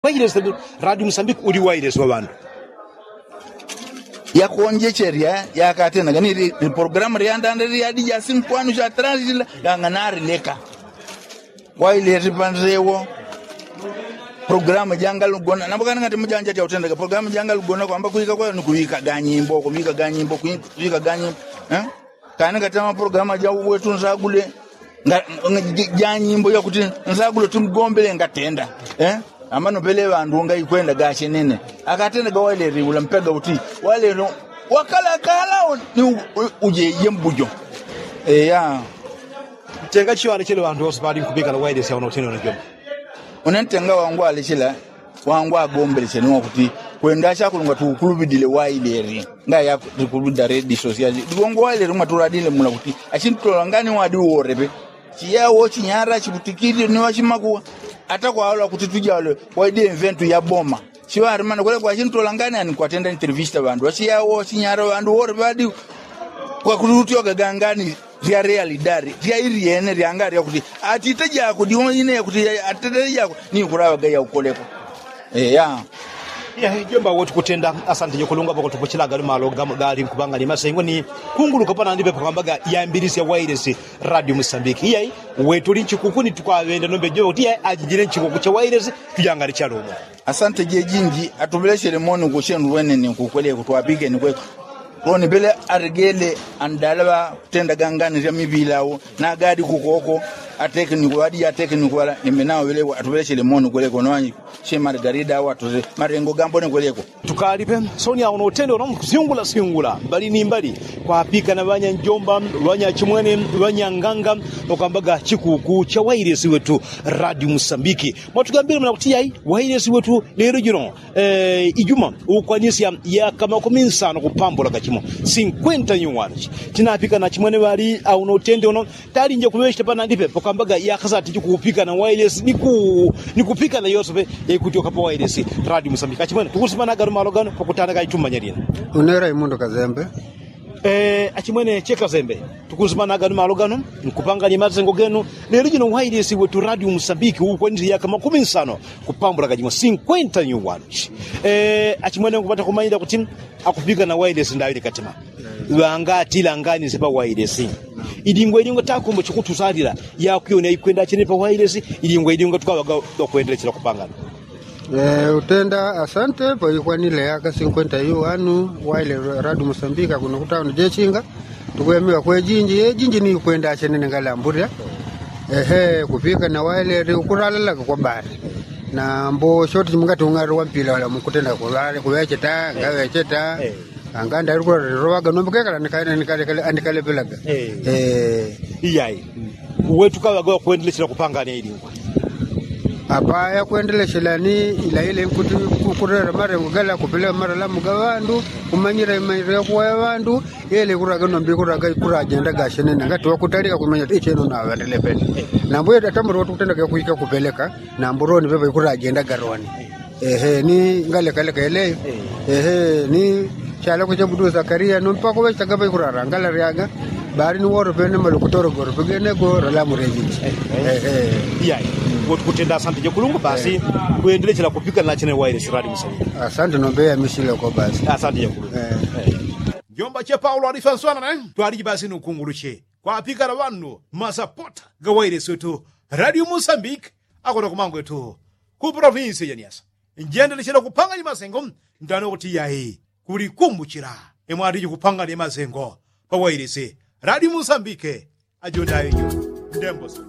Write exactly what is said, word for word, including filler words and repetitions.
Wailesi radio musambiki uli wailesi wa ŵandu. Yakonjecherya yakatenaga ni programu lyandanda lyadi jasinkwanu sha taranzila yang'anari leka. Wailesi panzewo programu jangalugona nambo kana ngati mujanja tya utendaga programu jangalugona kwamba kwika kwa ni kuwika ganyimbo kuwika ganyimbo kuwika ganyimbo. Kani ngati amaprogramu aja wetu nsagule janyimbo yakuti nsagule timgombele ngatenda. Amano pele ŵandu ngaikwenda gachenene akatenda gawalele ula mpega uti walelo wakalakala ni ujeje mbujo. Eya. Ntenga chiwale chele ŵandu wose pali nkupikala wailesi auna utenena jomba. Une ntenga wangu alechela wangu agombelecheni wakuti kwenda achakulungwa tukulupidile wailesi. Ngaya tukulupida redi sosiali digongo wailesi mwatuladile mula kuti achintutola ngani wadi uworepe. Chiyawo chinyara chikutikili ni wachimakuwa ata kwawala kuti tujawale waidi enventu ya boma. Chiwari mana kwele kwachintutola ngani ani kwatenda intervista ŵandu wachiyawo wachinyara ŵandu worepe wadi. Kwakututyoga gangani. Lya realidari lya ilyene lyanga lyakuti atite jako diwo ine yakuti atite jako ni kulaŵaga yaukoleko. Eya. Jomba wotukutenda. Asante nyo kulunga pakutupuchilaga lumalo gali nkupanga ni masengo ni kunguluka panandipe pakwambaga yambilisya wailesi radio musambiki iyai. Wetuli nchikuku ni tukwaŵenda nombe jomba kuti iyai ajinjile nchikuku cha wailesi. Tujangali chalumo. Asante jejinji atuŵelechele moni ukuchenu lweneni ukukweleko twapikeni kweko. Loni pele alegele andala ŵakutendaga ngani lya miŵilau nagadi kukoko. Atekeniko ŵadi atekeniko ŵala nimbe nawo ŵeleko atuŵelechele moni kweleko nowanyi. Che margarida awo atuse malengo gambone kweleko. Tukalipe soni awo notende uno mkusyungulasyungula mbali ni mbali kwapika na ŵanyanjomba ŵanyachimwene ŵanyanganga. Nokwambaga chikuku cha wailesi wetu radio musambiki. Mwatugambile muna kuti yai wailesi wetu lelo jino ijuma ukwanisya yaka makumi nsano kupambula kachimo sinkwenta nyuwanu. Tinapika na chimwene ŵali auno utende uno talinje kuŵecheta panandipe pakwambaga yaka satiji kuupika na wailesi ni kupika na yosepe. Yaikutyoka pa wailesi radio musambiki achimwene tukusimanaga lumalo gano pakutanaka itumanya lina. Unera imundo kazembe. Achimwene che kazembe tukunsimanaga ni malo gano nkupanganya masengo genu. Lelo jino wailesi wetu radio musambiki ukwanile yaka makumi nsano kupambula kachimo sinkwenta nyuwanu. Achimwene nkupata kumanyila kuti akupika na wailesi ndawile katima ŵangatila nganise pa wailesi. Ilingwa ilingwa takombo chikutusalila yakwiyona ikwenda achene pa wailesi. Ilingwa ilingwa tukaŵaga wakwendelechela kupangana. Utenda asante paikwanile yaka sinkwenta yu wanu waile radu musambika kuno kutauni jechinga. Tukuyamiwa kwejinji yejinji ni kwenda achenene ngalamburya. Ehe kupika na waile ri ukuralalaga kwa bari. Nambo shoti mungati ungari wampila wala mukutenda kuwecheta ngawecheta. Anganda ri kuralalaga nombo kekala andikalepelaga. Iyai. Uwe tukaŵaga wakwendelechela kupangana ilingwa. Apa yakwendelechela ni ilaile nkuti kukurera marengo gala kupeleka maralamu ga ŵandu kumanyira imanyira yakuwa ya ŵandu. Yele ikuraga nombi ikuraga ikurajenda gashenene ngati wakutalika kumanya icheno naŵendelepele. Nambo yele atamuri watukutendaga yakuika kupeleka. Nambo roni pepa ikurajenda garoni. Ehe ni ngalekaleka yeleyo. Ehe ni chalaku chabudu zakaria no mpako ŵechitaga ŵaikurara ngalaryaga. Bari ni woro pene malokutoro goro pegenego ralamu rejiji. Ehe. Iyai. Wotukutenda asante jekulungu basi. Kwendelechela kupika nachene waile siradi musali. Asante nombeya misileko basi. Asante jekulungu. Njomba che paulo alifanswana ne twaliji basi nukunguluche kwapikala ŵandu masapota ga waile swetu. Radio musambiki akona kumangwetu ku provinsi ya nyasa. Njendelechela kupanganya masengo ndano kuti yai kulikumbuchila. Imwatiji kupanganya masengo pa wailisi radio musambike. Ajondayo ndemboso.